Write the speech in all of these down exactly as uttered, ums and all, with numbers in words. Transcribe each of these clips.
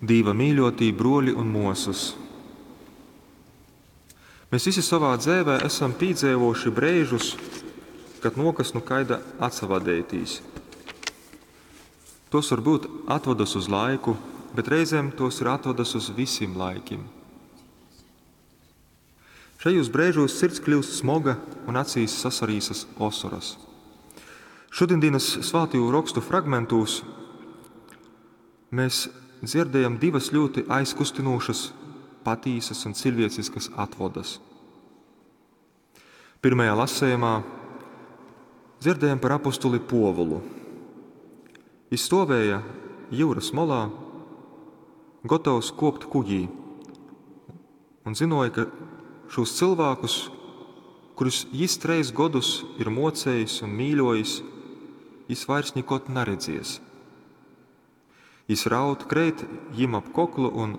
Dīva mīļotī bruoļi un muosys! Mēs visi sovā dzeivē esam pīdzeivovuši breižus, kad nuokas nu kaida atsavadeitīs. Tos var būt atvadas uz laiku, bet reizēm tos ir atvadas uz visim laikim. Šajos breižos sirds kļūst smoga un acīs sasarīsas osoras. Šodienas svātīju rokstu fragmentūs mēs dzirdējam divas ļoti aizkustinošas, patīsas un cilvēciskas atvodas. Pirmajā lasējumā dzirdējam par apostuli Povulu. Viņš stovēja jūras molā, gatavs kopt kuģī, un zinoja, ka šos cilvēkus, kurus jis treis godus ir mocējis un mīļojis, jis vairs nekot neredzies. Jis raud kreit jim ap koklu un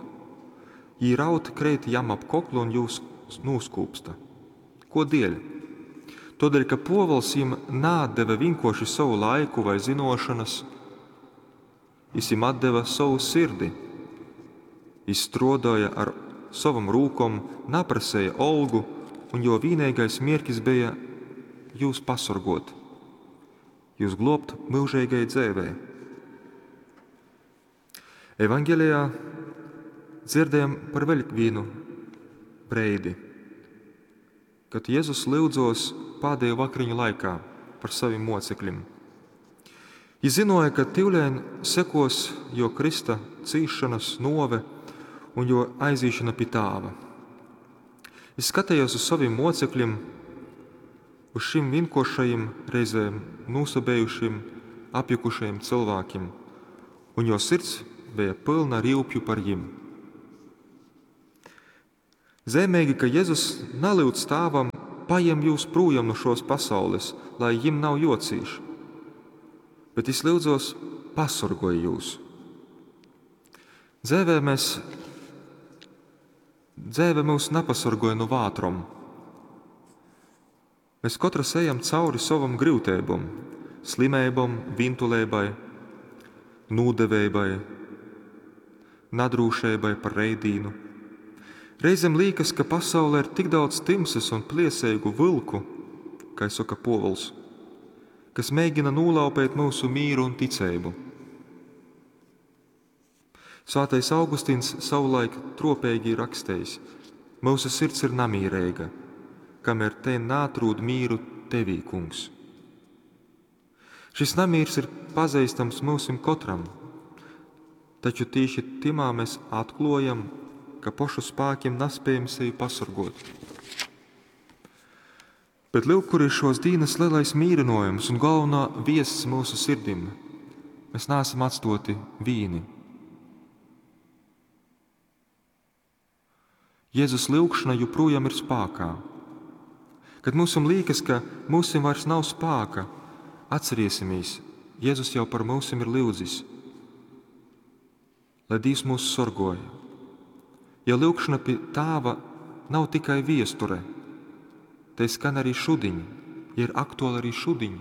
jī raud kreit jam ap koklu un jūs nūskūpsta. Ko dēļ? Todēļ, ka Povels jim naatdeva vienkārši savu laiku vai zinošanas, jis jim atdeva savu sirdi. Jis strādāja ar savam rūkom, naprasēja olgu, un jo vienīgais mierkis bija jūs pasorgot, jūs globt mūžīgai dzēvē. Evangelijā dzirdējam par vēl vienu breidi, kad Jēzus lyudzos pēdējo vakariņu laikā par saviem mocekļiem. Jis zinoja, ka tivlēn sekos jo Krista cīšanas nove un jo aizīšana pie tāva. Jis skatījās uz saviem mocekļiem, uz šim vienkošajiem, reizēm nūsabējušiem, apjukušajiem cilvēkiem, un jo sirds bija pilna rīupju par jim. Zemīgi, ka Jēzus nalūdz tēvam, pajem jūs prūjam no šos pasaules, lai jim nav jocīši, bet es lūdzos, pasorgoju jūs. Dzēvē mēs, dzēve mūs nepasorgoja no vātrom. Mēs katrs ejam cauri savam grūtībam, slimībam, vintulībai, nūdevībai, nadrūšībai par reidīnu. Reizēm liekas, ka pasaulē ir tik daudz timsas un pliesīgu vilku, kā saka Povuls, kas mēģina nolaupēt mūsu mīru un ticību. Svētais Augustīns savulaik tropīgi rakstījis: Mūsu sirds ir namīrīga, kamēr te nātrūd mīru tevī, kungs. Šis namīrs ir pazīstams mūsim katram, taču tieši timā mēs atklājam, ka pošu spēkiem nespējam sevi pasorgot. Bet lūk, kur ir šos dienas lielais mīrinojums un galvenā viests mūsu sirdim. Mēs neesam atstoti vīni. Jēzus lūgšana joprojām ir spēkā. Kad mums liekas, ka mums vairs nav spēka, atcerēsimies, Jēzus jau par mums ir lūdzis, lai Dievs mūs sorgoja. Ja lūgšana pie Tēva nav tikai viesture, te skan arī šudiņ, ja ir aktuāli arī šudiņ,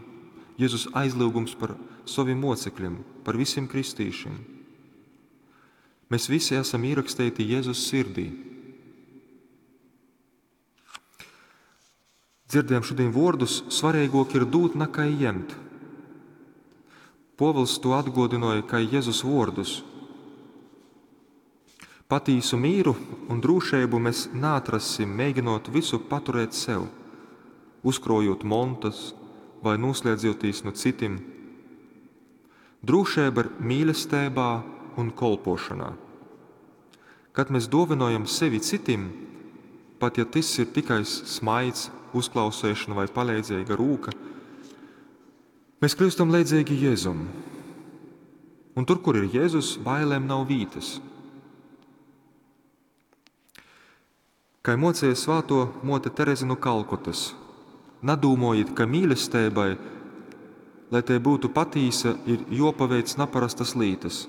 Jēzus aizlūgums par saviem mocekļiem, par visiem kristīšiem. Mēs visi esam ierakstīti Jēzus sirdī. Dzirdējam šodien vārdus, svarīgāk ir dūt nekā ņemt. Povils to atgodināja kā Jēzus vārdus. Patīsu mīru un drošību mēs nātrasim, mēģinot visu paturēt sev, uzkrojot montas vai noslēdzoties no citiem. Drošība ir mīlestībā un kolpošanā. Kad mēs dāvinojam sevi citim, pat ja tas ir tikai smaids, uzklausīšana vai palīdzīga rūka, mēs kļūstam līdzīgi Jēzum. Un tur, kur ir Jēzus, bailēm nav vītas. Kā mocīja svāto mote Tereze no Kalkutas, nadūmojiet, ka mīlestībai, lai te būtu patīsa, ir jopaveic naparastas lītas.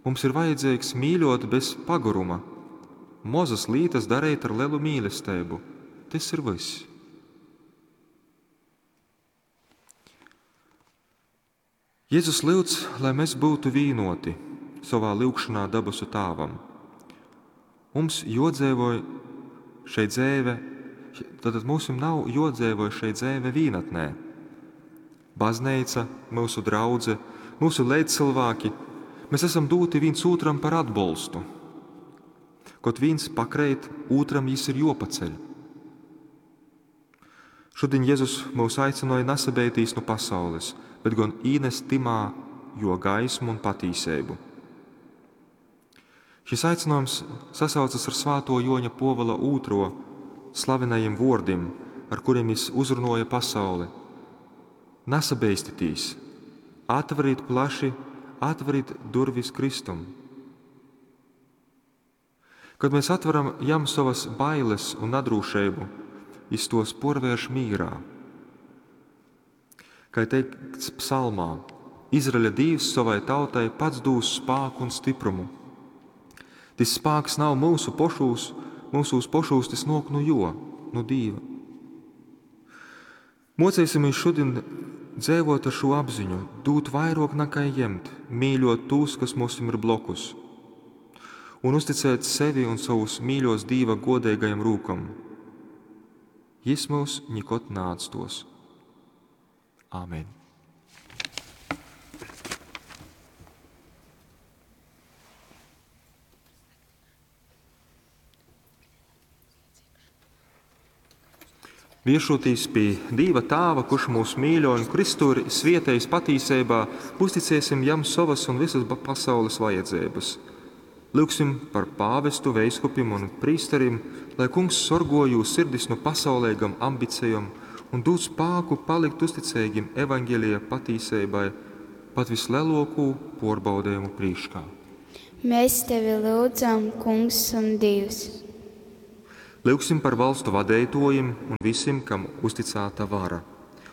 Mums ir vajadzīgs mīļot bez paguruma, mozas lītas darīt ar lielu mīlestību. Tas ir viss. Jēzus lūdz, lai mēs būtu vīnoti, sovā lyugšonā dabasu Tāvam. Mums jōdzeivoj šei dzeive, tātad mūsim nav jōdzeivoj šei dzeive vīnatnē. Bazneica, myusu draudze, myusu leidzcylvāki, mēs esam dūti vīns ūtram par atbolstu. Kod vīns pakreit, ūtram jis ir juopaceļ. Šudiņ Jezus mūs aicināja nasabeitīs nu pasaules, bet gan īnest tymā jo gaismu un patīseibu. Šis aicinājums sasaucas ar svāto Joņa Pōvula ūtrō slavenajiem vōrdim, ar kuriem jis uzrunoja pasauli. Nasabeistitīs, atverit plaši, atverit durvis Kristum. Kad mēs atveram jam sovas bailes un nadrūšeibu, jis tos porvērš mīrā. Kā teikts psalmā, Izraeļa Dīvs savai tautai pats dūs spāku un stiprumu. Tis spāks nav mūsu pošūs, mūsūs pošūs, tis nok nu jo, nu Dīva. Mocēsimies šodien dzēvot ar šo apziņu, dūt vairāk nekā ņemt, mīļot tos, kas mums ir blokus, un uzticēt sevi un savus mīļos Dīva godīgajam rūkam. Jis mūs nikod neatstos. Āmen. Viešoties pie Dīva Tāva, kurš mūs mīļo un Kristu ir svietējis patīseibā, uzticēsim jam savas un visas pasaules vajadzības. Lūgsim par pāvestu, veiskupim un prīsterim, lai kungs sorgo jūs sirdis no pasaulīgam ambicijom un dod spāku palikt uzticīgim evaņģēlija patīseibai pat vislielāko porbaudījumu prīškā. Mēs tevi lūdzam, Kungs un Dievs. Lūgsim par valstu vadētojiem un visiem, kam uzticēta vara,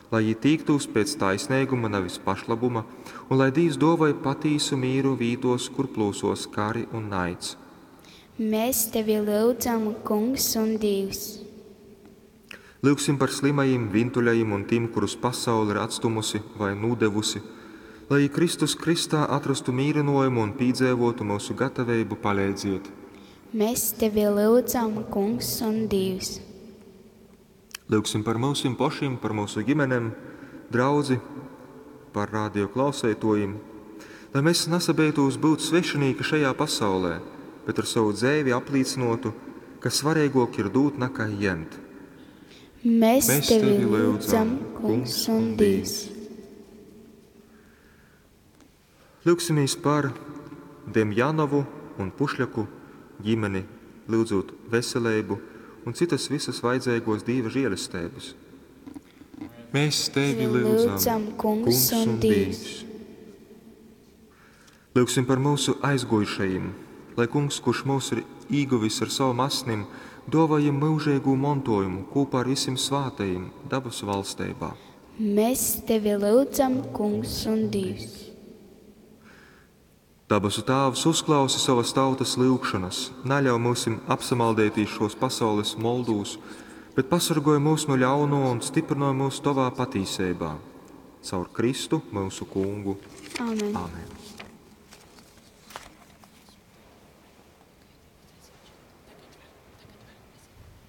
lai jī tīktūs pēc taisnīguma, nevis pašlabuma, un lai Dievs dāvāja patīsu mīru vītos, kur plūsos kari un naids. Mēs tevi lūdzam, Kungs un Dievs. Lūgsim par slimajiem, vintuļajiem un tiem, kurus pasaule ir atstumusi vai nodevusi, lai Kristus Kristā atrastu mīrinojumu un pīdzēvotu mūsu gatavību palīdziet. Mēs tevi lūdzam, Kungs un Dievs. Lūgsim par mūsim pašiem, par mūsu ģimenēm, draudzi, par radio klausētojiem, lai mēs nesabeitos būt svešinieki šajā pasaulē, bet ar savu dzēvi apliecinotu, ka svarīgāk ir dūt nekā ņemt. Mēs, Mēs tevi lūdzam, Kungs un Dievs. Lūgsimies par Demjanovu un Pušļaku ģimeni, lūdzot veselību un citas visas vajadzīgos Dieva žēlestības. Mēs tevi lūdzam, Kungs un Dievs. Lūgsim par mūsu aizgojušajiem, lai Kungs, kurš mūs ir īguvis ar savu asnim, dāvājam mūžīgu mantojumu kopā ar visiem svātajiem dabas valstībā. Mēs tevi lūdzam, Kungs un Dievs. Dabasu Tāvs uzklausi savas tautas lūgšanas, neļauj mūsim apsamaldētīs šos pasaules moldūs, bet pasargoj mūs no ļauno un stiprino mūs tavā patīsībā. Caur Kristu mūsu kungu. Amen. Amen.